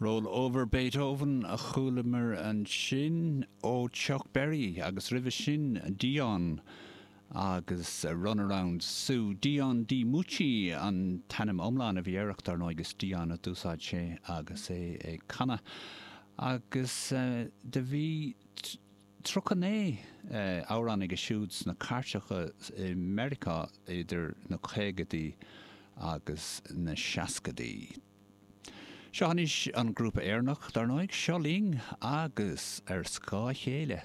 Roll Over Beethoven a chualamar ansin ó Chuck Berry agus roimhe sin Dion agus Runaround Sue. Dion DiMucci an t-ainm iomlán a bhí air ach dar ndóigh is Dion a d'úsáid sé agus é ag canadh. Agus do bhí 39 amhrán aige siúd sna cairteacha i Meiriceá idir na caogaidí agus na seascaidí. Seo anois an grúpa Éireannach, dar ndóigh, Seo Linn agus Ar Scáth a Chéile.